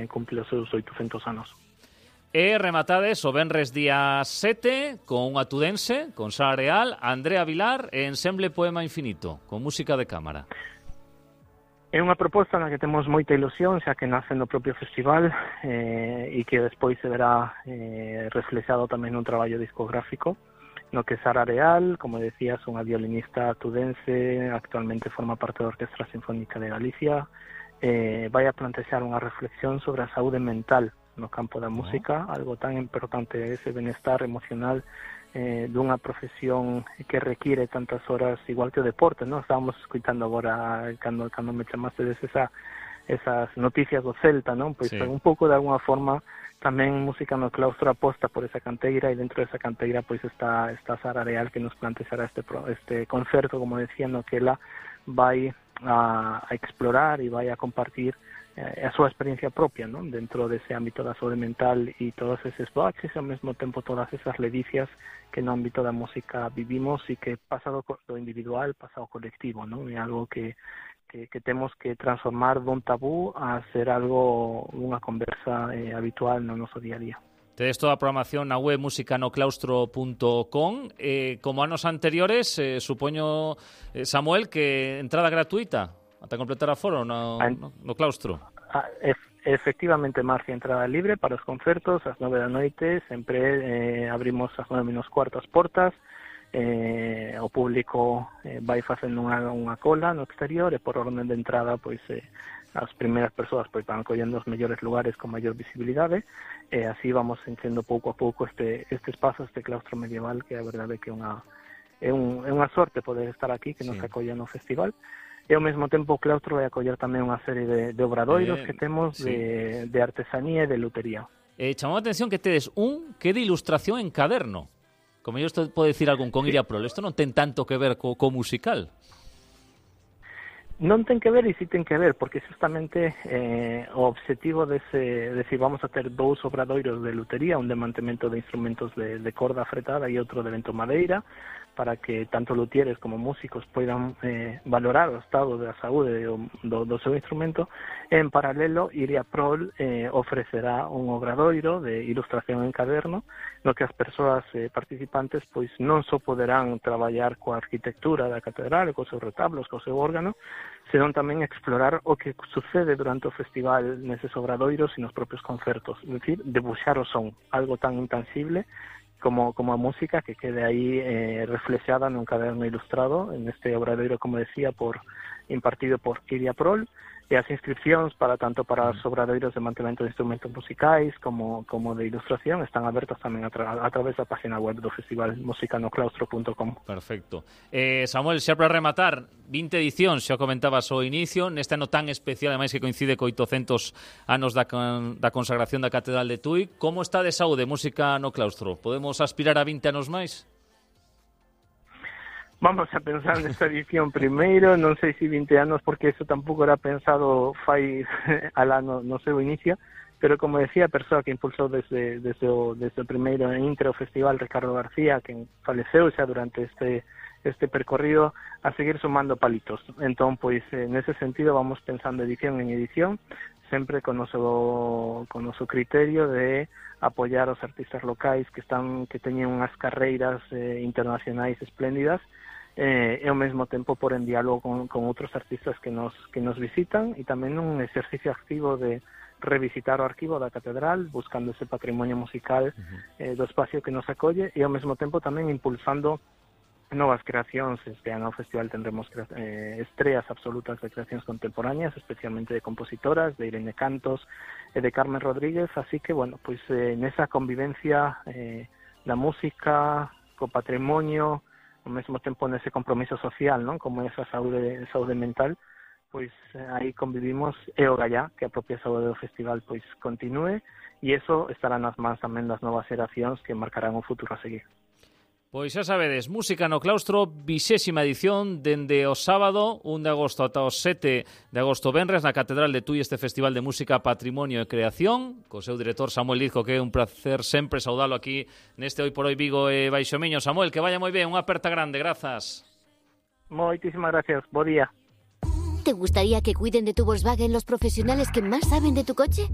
tamén cumple os seus 800 anos. E rematades o venres día 7 con unha tudense, con Sara Real, Andrea Vilar e Ensemble Poema Infinito, con música de cámara. É unha proposta na que temos moita ilusión, xa que nace no propio festival e que despois se verá reflexado tamén nun traballo discográfico, no que Sara Real, como decías, unha violinista tudense, actualmente forma parte da Orquestra Sinfónica de Galicia, vai a plantexar unha reflexión sobre a saúde mental no campo da música, algo tan importante, ese benestar emocional dunha profesión que require tantas horas, igual que o deporte, ¿no? Estábamos escuitando agora, cando me chamaste esas noticias do Celta, ¿no? Pois un pouco de alguna forma tamén Música no Claustro aposta por esa canteira, e dentro desa canteira pois está Sara Real, que nos plantexará este concerto, como decía, no que ela vai a explorar e vai a compartir a súa experiencia propia, ¿no? Dentro dese ámbito da saúde mental e todos eses baches, e ao mesmo tempo todas esas ledicias que no ámbito da música vivimos e que pasa do individual, pasa ao colectivo, ¿no? É algo que temos que transformar dun tabú a ser algo, unha conversa habitual no noso día a día. Tedes toda a programación na web musicanoclaustro.com. Como anos anteriores, supoño, Samuel, que entrada gratuita ata completar aforo no claustro. Efectivamente, Marcia, entrada libre para os concertos ás 9 da noite, sempre abrimos ás 9:15 as portas, o público vai facendo unha cola no exterior e por orden de entrada pois as primeiras persoas pois van collendo os mellores lugares con maior visibilidade, e así vamos enchendo pouco a pouco este espazo, este claustro medieval, que a verdade que é unha sorte poder estar aquí, que nos acolla no festival. E ao mesmo tempo o claustro vai acoller tamén unha serie de obradoiros que temos de artesanía e de lutería. Chamou a atención que tedes que de ilustración en caderno. Como yo isto pode decir algún con Iria Prol, isto non ten tanto que ver co musical. Non ten que ver, e si ten que ver, porque justamente o obxectivo decir, vamos a ter 2 obradoiros de lutería, un de mantemento de instrumentos de corda fretada e outro de vento madeira, para que tanto luthieres como músicos poidan valorar o estado da saúde do seu instrumento. En paralelo, Iria Prol ofrecerá un obradoiro de ilustración en caderno, no que as persoas participantes pois non só poderán traballar coa arquitectura da catedral, cos seus retablos, co seu órgano, senón tamén explorar o que sucede durante o festival neses obradoiros e nos propios concertos, é dicir, debuxar o son, algo tan intangible como a música, que quede aí reflexada nun caderno ilustrado, en este obradoiro, como decía, impartido por Iria Prol, e as inscripcións tanto para os obradoiros de mantemento de instrumentos musicais como de ilustración están abertas tamén a través da página web do festival, musicanoclaustro.com. Perfecto. Samuel, xa para rematar, 20 edicións, xa comentabas ao inicio, neste ano tan especial, ademais que coincide co 800 anos da consagración da Catedral de Tui. Como está de saúde Música no Claustro? Podemos aspirar a 20 anos máis? Vamos a pensar nesta edición primeiro, non sei se 20 anos, porque eso tampouco era pensado fai alá no seu inicio, pero como decía, a persoa que impulsou desde o primeiro intro festival, Ricardo García, que faleceu xa durante este percorrido, a seguir sumando palitos. Entón, pois, nese sentido, vamos pensando edición en edición, sempre con noso criterio de apoiar os artistas locais que teñen unhas carreiras internacionais espléndidas, e ao mesmo tempo por en diálogo con outros artistas que nos visitan, e tamén un exercicio activo de revisitar o arquivo da catedral, buscando ese patrimonio musical do espacio que nos acolle, e ao mesmo tempo tamén impulsando novas creacións. Este ano ao festival tendremos estreas absolutas de creacións contemporáneas, especialmente de compositoras, de Irene Cantos e de Carmen Rodríguez, así que, bueno, pois nesa convivencia da música co patrimonio, ao mesmo tempo nese compromiso social, non? Como esa saúde mental, pois aí convivimos, e o gallá, que a propia saúde do festival pois continúe, e eso estará nas mans tamén das novas xeracións que marcarán o futuro a seguir. Pois xa sabedes, Música no Claustro, 20ª edición, dende o sábado 1 de agosto ata o 7 de agosto venres, na Catedral de Tui, este Festival de Música, Patrimonio e Creación, co seu director Samuel Lizco, que é un placer sempre saudalo aquí neste Hoy por Hoy Vigo e Baixomiño. Samuel, que vaya moi ben, unha aperta grande, grazas. Moitísimas gracias, bo día. ¿Te gustaría que cuiden de tu Volkswagen los profesionales que más saben de tu coche?